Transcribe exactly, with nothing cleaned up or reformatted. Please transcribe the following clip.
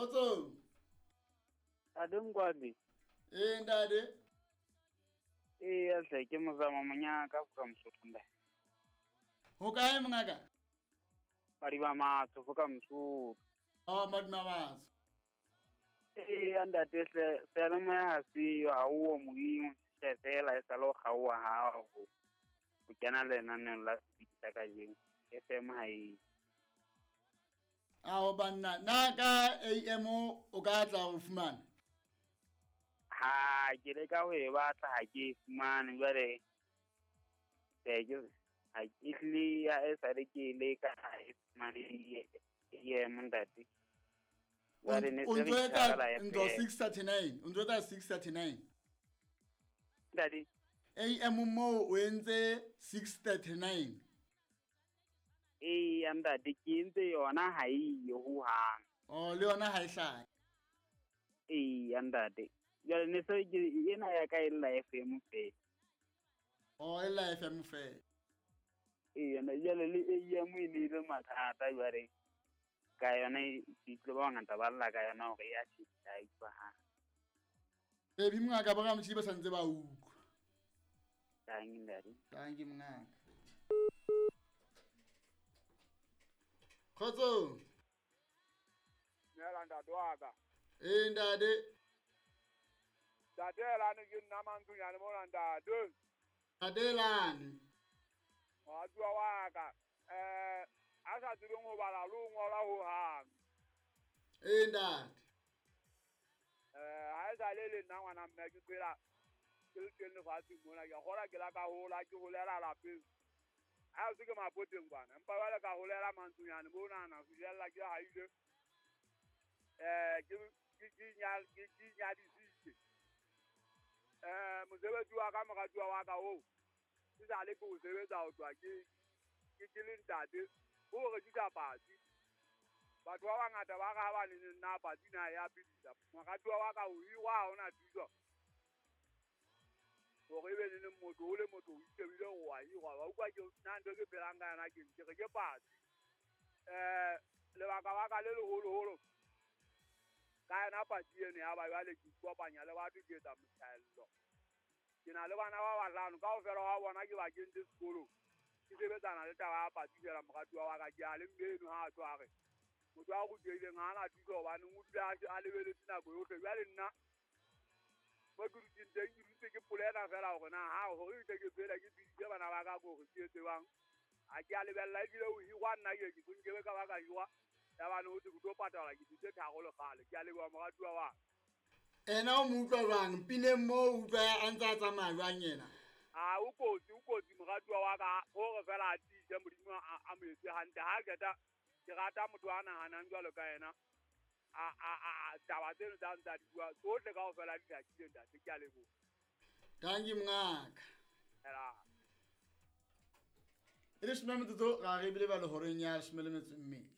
Kgotsong. Ntate Mokwabi. Ee ntate. Ee hle ke mozama monyaka ka Mosotho ntate. Ho kae mongaka? Madiba Matsho ka Mosotho. Oh Madiba Matsho. Ee ntate hle seyalemoya ha se ha o moyeng hle fela e sa le ho kgaoha ha ho ho kena lenaneong la sebidi sa kajeno F M ha e. Ao banna na ka A M o ka tla o fumana? Ha ke leka ho e batla ha ke e fumane jwale ke ha ke hlile ya e sale ke leka ha e fumane A M ntate. Jwale ne O se re ntso etsa itshwarela ya ntlo fela. six thirty-nine, o ntso etsa six thirty-nine. Ntate. A M moo o entse six thirty-nine. Ee ntate ke entse yona ha e yo hohang. Oh le yona ha e hlahe. Ee ntate. Jwale ne se ke ena ya ka e lla F M fela. Oh e lla F M fela. Ee ntate jwale le A M e ne e le mathata jwale. Ka yona e tlo ba bangata ba lla ka yona hore ya tjhisa ha e utlwahale. Baby mongaka ba Ramotjhidi ba santse ba utlwa. Tanki ntate. Tanki mongaka. Kgotsong. Dumela ntate wa ka. Ee ntate. Ntate Elane ke nna Mantsunyane mona ntate. Ntate Elane. Moratuwa wa ka. Eh a sa tsebeng ho bala le ho ngola hohang. Ee ntate. Eh ha e sa le le nna ngwana mme ke phela ke le teng lefatsheng mona ke a kgolwa ke la ka hola ke holela lapeng. Ha se ke mapoteng kwana empa jwale ka holela Mantsunyane monana ho fihlella ke haile. Eh ke ke ke nyal ke ke nyadisitse. Eh mosebetsi wa ka moratuwa wa ka oo ke sa le ke o sebetsa ho tloha ke ke ke le ntate ho rekisa patsi. Batho ba bangata ba re ha ba ne nna patsi na ya phedisa. Moratuwa wa ka o hirwa ha hona thuso. Hore ebe le motho o le motho o itshebile hore wa hirwa. Wa utlwa ke nna ntho e ke phelang ka yona ke ke re ke patsi. Eh lebaka baka le leholoholo ka yona patsi eno ya ba jwale ke ikopanya le batho ke etsa motjhaello. Ke na le bana ba bahlano kaofela wa bona ke ba kentse sekolong. Ke sebetsana le taba ya patsi fela moratuwa wa ka ke a le mme eno ha a tswa a re motho a rutehileng ha ana thuso hobane o dula a lebeletse nako yohle. Jwale nna mo ke dutseng teng ke dutse ke polena fela hore na ha hore ke tle ke phele ke phedise bana ba ka ke hore ke etse jwang. Ha ke a lebella ebile ho hirwa nna ke ke so nkebe ka ba ka hirwa. Ya bane ho thwe ke tlo patala ke tse tharo le kgale. Ke a leboha moratuwa wa ka. Ena o mo utlwa jwang? Pineng moo o utlwa a ntse a tsamaya jwang yena? Ah o kotsi o kotsi moratuwa wa ka hore fela a tiise Modimo a a mo etse hantle. Ha qeta ke rata motho a nahanang jwalo ka yena. A a a taba tseno tsa ntse a di bua tsohle kaofela di hlakile ntate ke a leboha. Tanki mongaka. Hela. E leshome le metsotso ra re ebile ba le horeng ya leshome le metso e mmedi.